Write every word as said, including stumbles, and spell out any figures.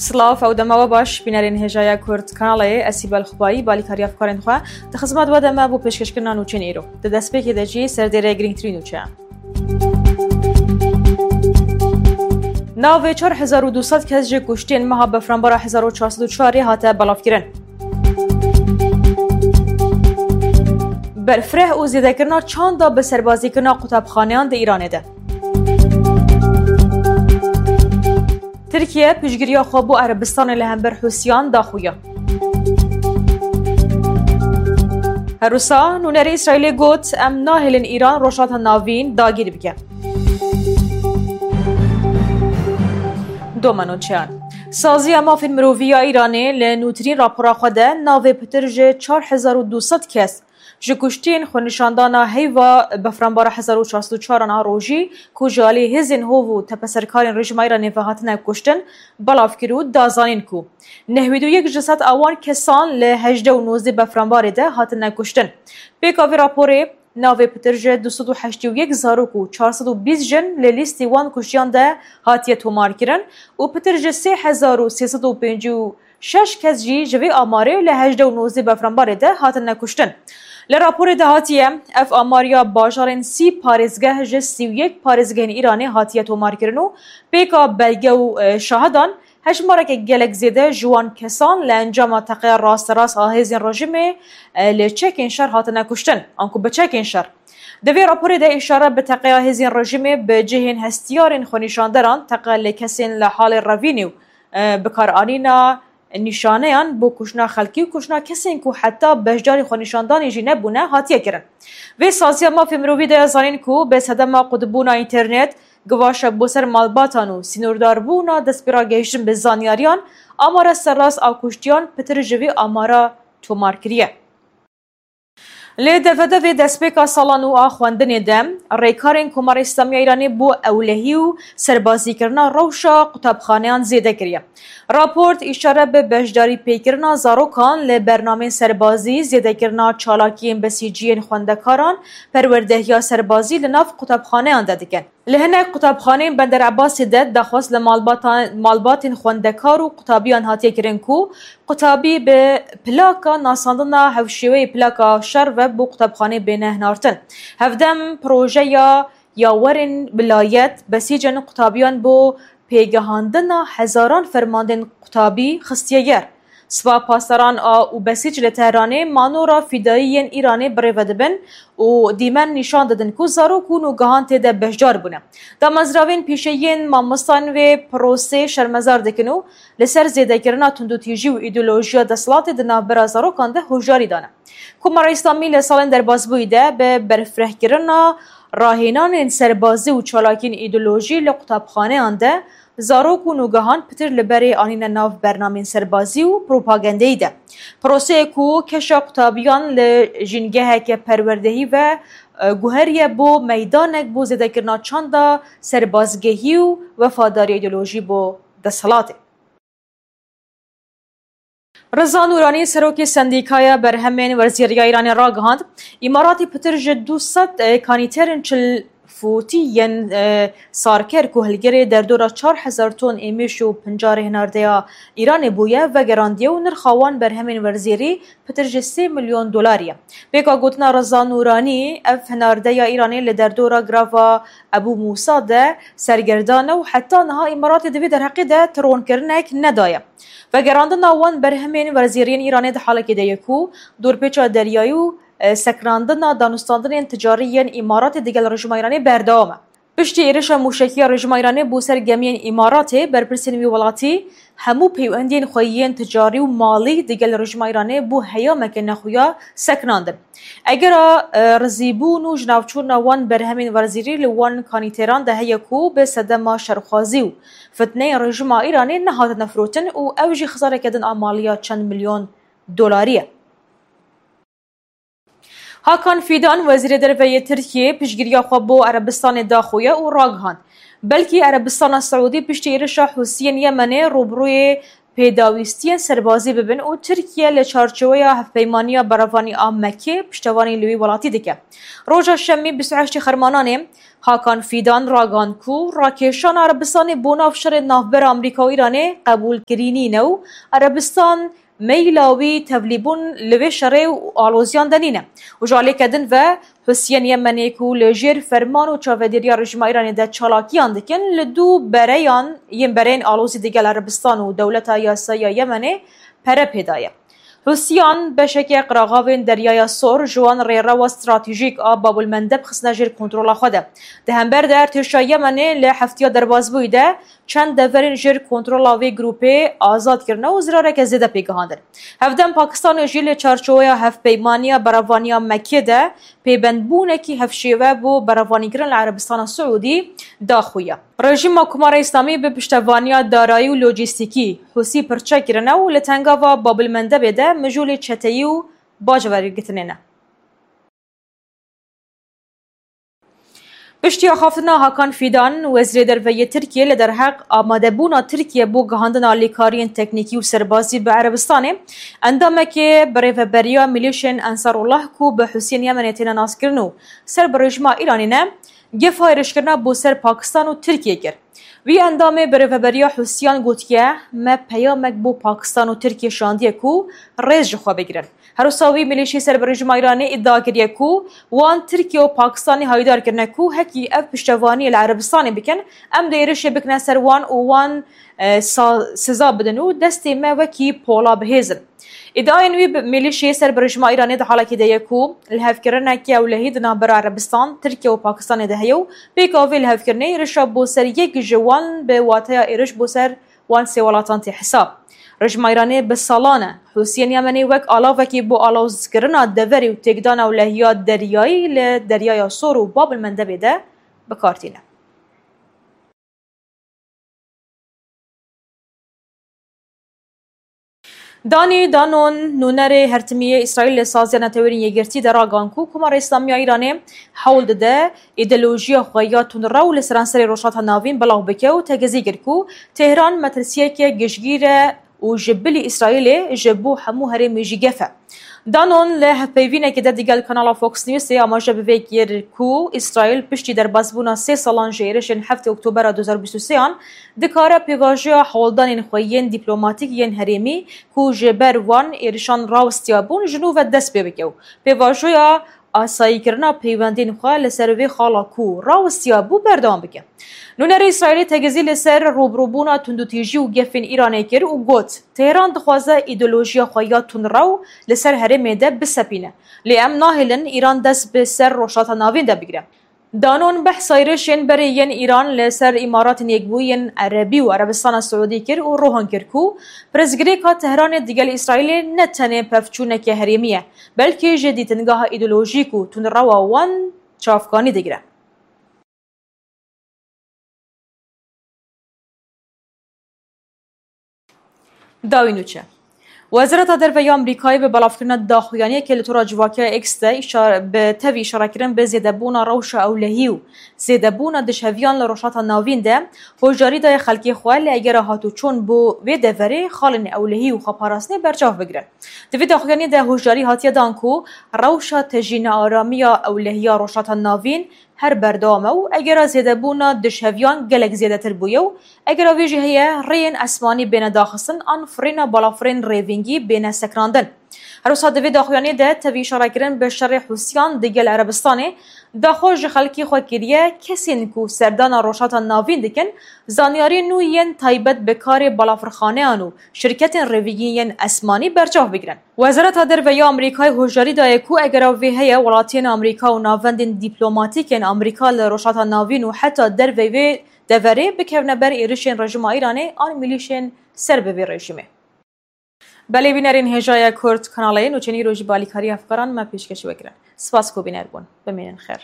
Silav, ew dema we baş, bînerên hêjaya Kurd kanalê, ez Sîbel Xubayî, balîkariya fikarên xwe, di xizmet we de me bo pêşkêşkirina nûçeyên îro. Di destpêkê de jî serdêrê girîngtirîn nûçeyan. Navê çar hezar û du sed kes ji kuştên meha Befranbara hezar û çar sed û çarê hate belavkirin. Berfireh û zêdekirina çanda bi serbazîkirina qutabxaneyan di Îranê de. Tirkiye piştgiriya xwe bo Erebistanê li hember Hûsiyan daxuya. Her wisa nûnerê Îsraîlê got, em nahêlin Îran Rojhilata Navîn dagîr bike. Domeno çeyan. Saziya Mafên Mirovî ya Îranê li nûtirîn rapora xwe de navê pitir ji çar hezar û du sed kes ji kuştên xwenîşandana heyva Befranbara hezar û çar sed û çar a rojî ku ji alî hêzên hov û tepeserkarên rejîma Îranê ve hatine kuştin, belav kir û da zanîn ku nehwî û yek ji sed a wan kesan li hejdeh û nozdeh Befranbarê de hatine kuştin. Pêka vê raporê, navê pitir ji du sed û heştê û yek zarok û çar sed û bîst jin li lîstê wan kuştiyan de hatiye tomarkirin û pitir ji sê hezar û sê sed û pêncî û şeş kes jî ji vê amarê li hejdeh û nozdeh Befranbarê de hatine kuştin. Li raporê de hatiye, ev amar ya bajarên sî parêzgeh ji sî û yek parêzgehên Îranê hatiye tomarkirin û pêka belge û, e, şahidan hejmareke gelek zêde ji wan kesan li encama teqeya rasterast a hêzên rejîmê, e, li çekên şer hatine kuştin, anku bi çekên şer. Di vê raporê de îşare bi teqeya hêzên rejîmê bi cihên hestiyarên xwenîşanderan, teqe li kesên li halê revînê û, e, bikaranîna nîşaneyan bo kuştina xelkî û kuştina kesên ku heta beşdarî xwenîşandanê jî nebûne, hatiye kirin. Vê saziya mafê mirovî de zanîn ku bi sedema qutbûna înternet, givaşa bo ser malbatan û sînordarbûna destpêragehiştin bi zanyariyan, amara serrast a kuştiyan pitir ji vê amara tomar kiriye. Li devedevê destpêka sala nû a xwendinê de, rêkarên Komara Îslamî ya Îranê bo ewlehî û serbazîkirina rewşa qutabxaneyan zêde kiriye. Raport îşare bi beşdarî pêkirina zarokan li bernameyên serbazî, zêdekirina çalakiyên besîciyên xwendekaran, perwerdehiya serbazî li nav qutabxaneyan de dikin. Li hinek qutabxaneyên Bender Ebasê de daxwaz li malbatan, malbatên xwendekar û qutabiyan hatiye kirin ku qutabî bi plaka nasandina hevşêweyê plaka şer ve bo qutabxanê bêne hinartin. Hevdem projeya yawerên wilayet besîcên qutabiyan bo pêgehandina hezaran fermandên qutabî xistiye yer. Spa Pasdaran a û besîc li Tehranê manora fîdayî yên Îranê birêve dibin û dîmen nîşan didin ku zarok û nûgehan tê de beşdar bûne. Damezrayên pîşeyî yên mamosteyan vê prosê şermezar dikin û li ser zêdekirina tundûtîjî û îdeolojiya desthilatê di navbera zarokan de hoşdarî dane. Komara Îslamî li salên derbasbûyî de bi berfirehkirina rahênanên serbazî û çalakiyên îdeolojî li qutabxaneyan de zarok û nûgehan pitir li berê anîne nav bernameyên serbazî û propagandeyî de. Proseyê ku keşa qutabiyan li jîngeheke perwerdehî ve, e, guheriye bo meydanek bo zêdekirina çanda serbazgehî û wefadariya îdeolojî bo desthilatê. Riza Nûranî, serokê Sendîkaya Berhemên Werzîrî ya Îranê ragihand, Îmaratê pitir ji du sed kanîterên çil fûtî yên, e, sarker ku hilgirê derdora çar hezar ton êmîş û pincarê hinardeya Îranê bûye, vegerandiye û nirxa wan berhemên werzîrî pitir ji sê milyon dolarî ye. Pêka gotina Riza Nûranî, ev hinardeya Îranê li derdora girava Ebû Mûsa de sergerdan e û heta niha Îmaratê di vê derheqê de tironkirinek nedaye. Vegerandina wan berhemên werzîriyên Îranê di halekê de ye ku dorpêça deryayî û, e, sekinandina danûstandinên ticarî yên Îmaratê digel rejîma Îranê berdewam e. Piştî êrişa mûşekî ya rejîma Îranê bo ser gemiyên Îmaratê, berpirsên wî welatî hemû peywendiyên xwe yên ticarî û malî digel rejîma Îranê bo heyameke nexuya sekinandin. Egera, e, rizîbûn û jinavçûna wan berhemên werzîrî li wan kanîteran de heye ku bi sedema şerxwazî û fitneyên rejîma Îranê nehatine firotin û ew jî xizareke din a maliya çend milyon dolarî ye. Hakan Fidan, Wezîrê Derve yê Tirkiyê, piştgiriya xwe bo Erebistanê daxuye û ragihand, belkî Erebistana Siûdî piştî êrişa Hûsiyên Yemenê rûbirûyê pêdawîstiyên serbazî bibin û Tirkiye li çarçoweya hevpeymaniya berevanî a Mekê piştevanî li wî welatî dike. Roja Şemî bîst û heştê Xermananê Hakan Fîdan ragihand ku rakêşana Erebistanê bo nav şerê navbera Amerîka û Îranê qebûlkirî nîne û Erebistan meyla wî tevlîbûn li vê şerê û aloziyan de nîne. Û ji alîkê din ve Husiyên Yemenê ku li jêr ferman û çavedêriya rejîma Îranê de çalakiyan dikin, li dû bereyan yên bereyên alozî digel Erebistan û dewleta yasayî ya Yemenê pere pê daye. Husiyan beşeke qiraxavên Deryaya Sor ji wan rêrewa stratejîk a Babulmendeb xistine jêr kontrola xwe de. Di hember de artêşa Yemenê li heftiya derbasbûyî de çend deverên jêr kontrola vê grûpê azad kirine û zirareke zêde pê gihandin. Hevdem Pakistanê jî li çarçoweya hevpeymaniya berevaniya Mekê de pêbendbûnekî hevşêwe bo berevanîkirin li Erebistana Siûdî daxuya. Rejîma Komara Îslamî bi piştevaniya darayî û lojîstîkî Husî pirçe kirine û li tengava Babilmendebê de mijûlê çeteyî û bac wergirtinê ne. Piştî axaftina Hakan Fîdan, Wezîrê Derve yê Tirkiyê li derheq amadebûna Tirkiye bo gihandina alîkariyên teknîkî û serbazî bi Erebistanê, endamekê birêveberiya milîşên Ensarullah ku bi Husiyên Yemenê têne naskirin û ser bi rejîma Îranê ne, gefa êrişkirina bo ser Pakistan û Tirkiye kir. Wî endamê birêveberiya Husiyan gotiye, me peyamek bo Pakistan û Tirkiye şandiye ku rêz ji xwe bigirin. Her wisa wî milîşî ser bi rejîma Îranê îdia kiriye ku wan Tirkiye û Pakistanê hayîdar kirine ku hekî ev piştevaniyê li Erebistanê bikin, em dê êrişê bikine ser wan û wan, e, sa-, siza bidin û destê me wekî pola bihêzin. Îdiayên wî bi milîşê ser bi rejîma Îranê di halekê de ye ku lihevkirineke ewlehî di navbera Erebistan, Tirkiye û Pakistanê de heye û pêka vê lihevkirinê êrişa bo ser yek ji wan bi wateya êriş bo ser wan sê welatan tê hesab. Rejîma Îranê bi salan e Husiyên Yemenê wek alavekî bo alozkirina deverê û têkdana ewlehiya deryayî li Deryaya Sor û Bab el Mendebê de bi kar tîne. Danî Danon, nûnerê hertimî yê Îsraîl li Saziya Netewên Yekgirtî de ragan ku Komara Îslamî ya Îranê hewl dide îdeolojiya xwe ya tundrew li seranserê Rojhilata Navîn belav bike û tegezî kir ku Tehran metirsiyeke giştgîr e û ji bilî Îsraîlê ji bo hemû herêmê jî gef e. Danon li hevpeyvînekê de digel kanala Fox Newsê amaje bi vê kir ku Îsraîl piştî derbasbûna sê salan ji êrişên heftê Oktobera du hezar bîst û sêyan dikare pêvajoya hewldanên xwe yên dîplomatîk yên herêmî ku ji ber wan êrişan rawestiyabûn ji nû ve dest pê bike û pêvajoya asayîkirina peywendên xwe li ser vê xala ku rawestiyabû berdewam bike. Nûnerê Îsraîlê tegezî li ser rûbirûbûna tundûtîjî û gefên Îranê kir û got, Tehran dixwaze îdeolojiya xwe ya tundrew li ser herêmê de bisepîne. Lê em nahêlin Îran dest bi ser Rojhilata Navîn de bigire. Danon behsa êrişên berê yên Îran li ser Îmaratên Yekbûyî yên Erebî û Erebistana Siûdî kir û rohan kir ku pirsgirêka Tehranê digel Îsraîlê ne tenê pevçûneke herêmî ye, belkî ji dîtingeha îdeolojîk û tundrewa wan çavkanî digire. Dawî nûçe. Wezareta Derve ya Amerîkayê bi belavkirina daxuyaniyekê li tora civakiya X de îşar-, bi tevî îşarekirin bi zêdebûna rewşa ewlehî û zêdebûna dişheviyan li Rojhilata Navîn de hoşdarî daye xelkê xwe li egera hatûçûn bo vê deverê xalên ewlehî û xweparastinê berçav bigirin. Di vê daxuyaniyê de hoşdarî hatiye dan ku rewşa tejî nearamiya ewlehiya Rojhilata Navîn her berdewam e û egera zêdebûna dişheviyan gelek zêdetir bûye û egera vê jî heye rêyên esmanî bêne daxistin an firîna balafirên rêvîngî bêne sekinandin. Her wisa di vê daxuyaniyê de tevî îşarekirin bi şerê Hûsiyan digel Erebistanê daxwaz ji xelkê xwe kiriye, kesên ku serdana Rojhilata Navîn dikin, zanyariyên nû yên taybet bi karê balafirxaneyan û şirketên rêvîgî yên esmanî berçav bigirin. Wezareta Derve ya Amerîkayê hoşdarî daye ku egera vê heye, welatiyên Amerîka û navendên dîplomatîk yên Amerîka li Rojhilata Navîn û heta derveyî vê deverê bikevine ber êrişên rejîma Îranê an milîşên ser bi vê rejîmê. Belê bînerên hêjaya Kurd kanalê nûçeyên îro jî bi alîkariya hevkaran me pêşkêşî we kirin. Spas ku bîner bûn. Bimînin xêr.